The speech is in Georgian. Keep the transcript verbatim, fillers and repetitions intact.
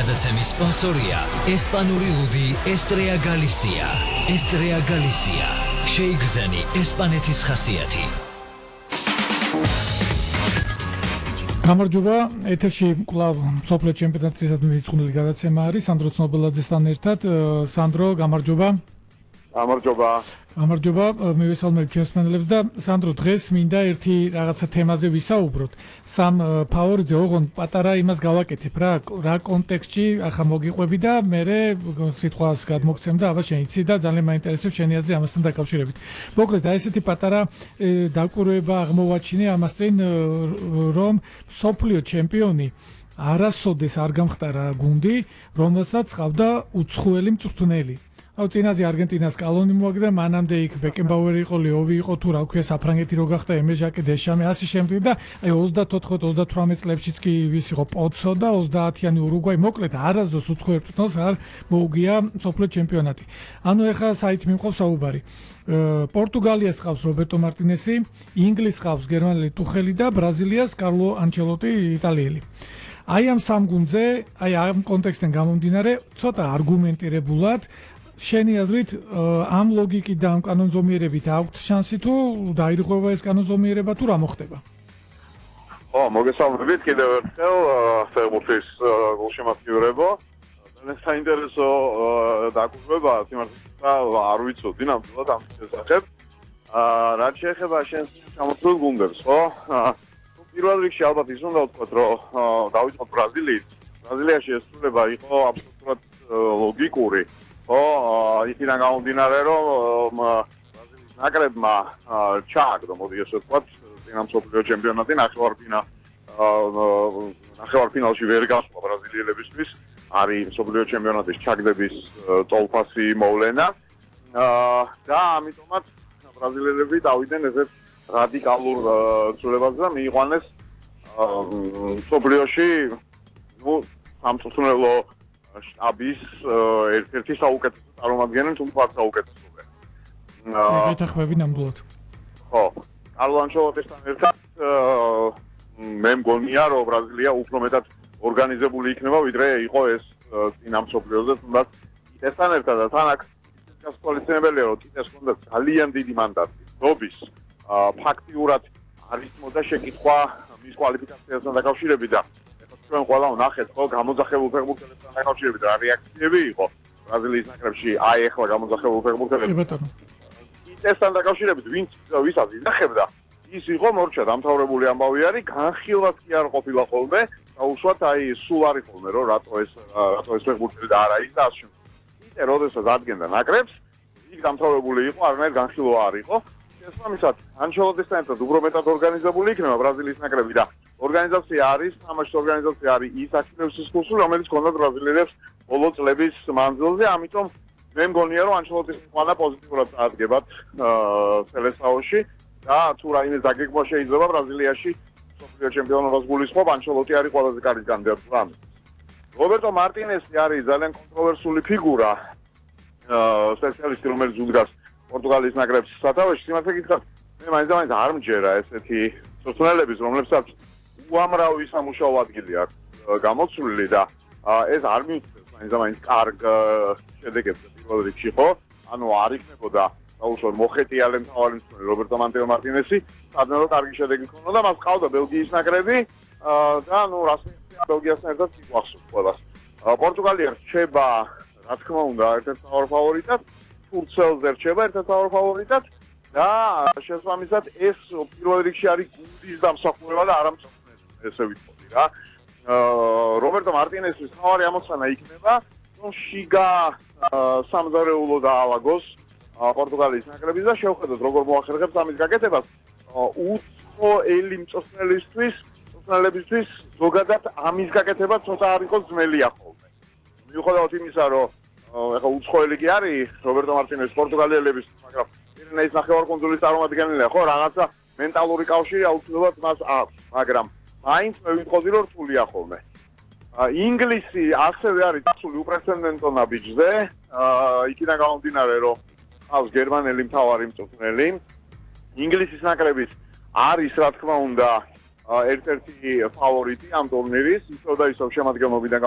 გადაცემის სპონსორია ესპანური ლუდი ესტრეა გალისია. ესტრეა გალისია. შეიგრძენი ესპანეთის ხასიათი. გამარჯობა, ეთერში კვლავ მსოფლიო ჩემპიონატისადმი მიძღვნილი გადაცემა არის სანდრო ცნობელაძესთან ერთად. სანდრო, გამარჯობა. გამარჯობა. გამარჯობა, მივესალმებ ჩვენს მენელებს და სანდრო, დღეს მინდა ერთი რაღაცა თემაზე ვისაუბროთ. სამ ფავორიტზე ოღონდ პატარა იმას გავაკეთებ რა, რა კონტექსტში ახლა მოგიყვები და მე სიტყვას გადმოგცემ და აბა შენ იცი და ძალიან მაინტერესებს შენი აზრი ამასთან დაკავშირებით. მოკლედ, აი ესეთი პატარა დაკვირვება აღმოვაჩინე ამას წინ, რომ მსოფლიო ჩემპიონი არასოდეს არ გამხდარა გუნდი, რომელსაც ყავდა უცხოელი მწვრთნელი. აუ წინაზე არგენტინას კალონი მოაგდა, მანამდე იქ ბეკენბაუერი იყო, ლეოვი იყო, თუ რა ქვია საფრანგეთი რო გახდა, ემეჟაკე, დეშამი, ასე შემდეგ და აი ოცდაოთხ ოცდათვრამეტ წლებშიც კი ვის იყო პოცო და ოცდაათიანი ურუგვაი, მოკლედ არასდროს უცხოელ მწვრთნელს არ მოუგია მსოფლიო ჩემპიონატი. ანუ ეხლა საით მიმყავს საუბარი. პორტუგალიას ყავს რობერტო მარტინესი, ინგლისს ყავს გერმანელი ტუხელი და ბრაზილიას კარლო ანჩელოტი იტალიელი. აი ამ სამ გუნდზე, აი ამ კონტექსტიდან გამომდინარე, ცოტა არგუმენტირებულად შენი აზრით ამ ლოგიკით და ამ კანონზომიერებით აქვს შანსი თუ დაირღვევა ეს კანონზომიერება თუ რა მოხდება? ხო, მოგესალმებით კიდევ ერთხელ ფეხბურთის გულშემატკივრებო. ძალიან საინტერესო დაკვირვება, თუმცა არ ვიცოდი ნამდვილად ამ შესახებ. რაც შეეხება შენს ჩამოთვლილ გუნდებს, ხო? პირველ რიგში ალბათ ის უნდა ვთქვათ, რომ დავიწყოთ ბრაზილიით. ბრაზილიაში ეს ცვლილება იყო აბსოლუტურად ლოგიკური. ო, იქიდან გამომდინარე, რომ ბრაზილიის ნაკრებმა ჩააგდო, მოდი ესე ვთქვათ, წინა მსოფლიო ჩემპიონატი ნახევარფინა ნახევარფინალში ვერ გასვლა ბრაზილიელებისთვის, არის მსოფლიო ჩემპიონატის ჩაგდების ტოლფასი მოვლენა და ამიტომაც ბრაზილიელები დავიდნენ ესეთ რადიკალურ ცვლილებაზე და მიიყვანეს მსოფლიოში ნუ სამწვრთნელო შტაბის ერთ-ერთი საუკეთესო წარმომადგენელი, თუმცა არ საუკეთესოა. გეთახმები ნამდვილად. ხო, კარლო ანჩელოტისთან ერთად მე მგონია, რომ ბრაზილია უფრო მეტად ორგანიზებული იქნება, ვიდრე იყო ეს წინა მსოფლიოზე, თუმცა ესთან ერთად თან აქ გასაკვალიფიცებელია, რომ კიდეს ჰქონდა ძალიან დიდი მანდატი. დობის ფაქტიურად არის მოდა შეკითხვა მის კვალიფიკაციასთან დაკავშირებით და ჩვენ ყველა ვნახეთ, ხო, გამოძახებულ ფეხბურთელებთან დაკავშირებით რა რეაქციები იყო ბრაზილიის ნაკრებში, აი ახლა გამოძახებულ ფეხბურთელებთან. ისთან დაკავშირებით, ვინც ვისაც ინახებდა, ის იყო მორჩა დამთავრებული ამბავი არის, განხილვაც კი არ ყოფილა ხოლმე, დაუშვათ აი სულ არის ხოლმე, რომ რატო ეს რატო ეს ფეხბურთელი და არა ის და ასე შემდეგ. იტე როდესაც ადგენდა ნაკრებს, იქ დამთავრებული იყო, არანაირ განხილვა არ იყო. შესაბამისად, ანჩელოტისთან ერთად უფრო მეტად ორგანიზებული იქნება ბრაზილიის ნაკრები და ორგანიზაცია არის, თამაშის ორგანიზაცია არის ის აქტივების კურსი, რომელიც ჰქონდა ბრაზილიელებს ბოლო წლების მანძილზე, ამიტომ მე მგონია, რომ ანჩელოტის მიღება პოზიტიურად წარდგებათ სელესაოში და თუ რაიმე დაგეგმვა შეიძლება ბრაზილიაში მსოფლიო ჩემპიონობას გულისხმობ, ანჩელოტი არის ყველაზე კარგი კანდიდატი ამ. რობერტო მარტინესი არის ძალიან კონტროვერსული ფიგურა, სპეციალისტი, რომელიც უდგას პორტუგალიის ნაკრებს სათავეში, სიმართლე გითხრათ, მე მაინც-მაინც არ მჯერა ესეთი მწვრთნელების, რომლებსაც უამრავი სამუშაო ადგილი აქვს გამოცვლილი და ეს არ მიუწევს მაინც-მაინც კარგ შედეგებს პირველ რიგში, ხო? ანუ არ იქნებოდა დაუშვათ მოხეტიალე მთავარი მწვრთნელი რობერტო მარტინესი, სადღაც კარგი შედეგი ჰქონდა და მას ყავდა ბელგიის ნაკრები და ნუ რასმია ბელგიასთან ერთად გახსოვს ყველას. პორტუგალია რჩება, რა თქმა უნდა, ერთ-ერთ მთავარ ფავორიტად, თურქელზე რჩება ერთ-ერთ მთავარ ფავორიტად და შესაბამისად ეს პირველ რიგში არის გუნდის დამსახურება და არა მწვრთნელის, ესე ვიტყოდი რა. რობერტო მარტინესის თავარი ამოცანა იქნება, რომ შიგა სამზარეულო დაალაგოს პორტუგალიის ნაკრების და შევხედოთ როგორ მოახერხებს ამის გაკეთებას. უცხოელი მწვრთნელისთვის, მწვრთნელებისთვის ზოგადად ამის გაკეთება ცოტა არ იყოს ძნელია ხოლმე. მიუხედავად იმისა, რომ ეხლა უცხოელი კი არის რობერტო მარტინესი პორტუგალიელების, მაგრამ პირენეის ნახევარკუნძულის წარმომადგენელია, ხო, რაღაცა მენტალური კავშირი აუცილებლად მას აქვს, მაგრამ მაინც მე ვიტყოდი, რომ რთულია ხოლმე. ინგლისი ასევე არის დაცული უპრეცედენტო ნაბიჯზე, იქიდან გამომდინარე, რომ ყავს გერმანელი მთავარი მწვრთნელი. ინგლისის ნაკრების არის, რა თქმა უნდა, ერთ-ერთი ფავორიტი ამ ტურნირის, ისევ და ისევ შემადგენლობიდან